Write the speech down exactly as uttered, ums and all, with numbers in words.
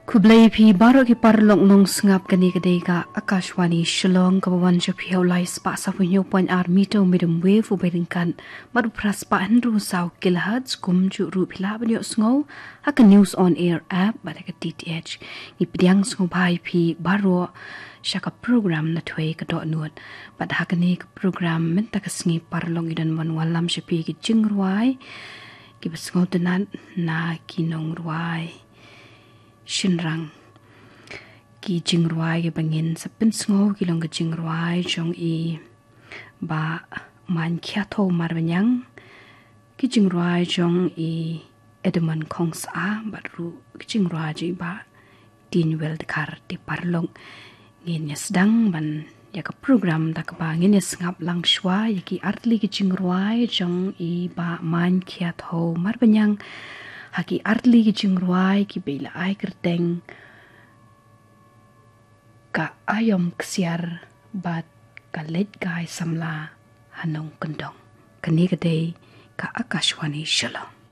Khublei phi baroh ki paralok nongsngap, kane ka dei ka Akashvani Shillong kaba wan sha phi ha u lai spah saw phew hynñiew point ar meter medium wave u byrngkan bad u phra spah hynriew saw kilohertz. Kumjuh ruh phi lah ban ïohsngew ha ka News on Air app bad ha ka D T H. Ngi pdiang sngewbha ïa phi baroh sha ka program Na Thwei Ka Dohnud. Bad ha kane ka program mynta ka sngi paralok ngi don ban wallam sha phi ki jingrwai kiba sngewtynnat na ki nongrwai shynrang. Ki jingrwai kiba ngin sa pynsngew ki long ki jingrwai jong i Bah Main Khiatho Marbaniang, ki jingrwai jong i Edmund Khongsah bad ruh ki jingrwai jong i Bah Tin Weldkar. Te paralok, ngin ïa sdang ban ïa ka program da kaba ngin ïa sngap lang shuwa ïa ki artylli ki jingrwai jong i Bah Main Khiatho Marbaniang ha ki artylli ki jingrwai kiba i la ai kyrteng Ka Aïom Ksiar bad Ka Leit Kai Samla ha Nongkyndong. Kane ka dei ka Akashvani Shillong.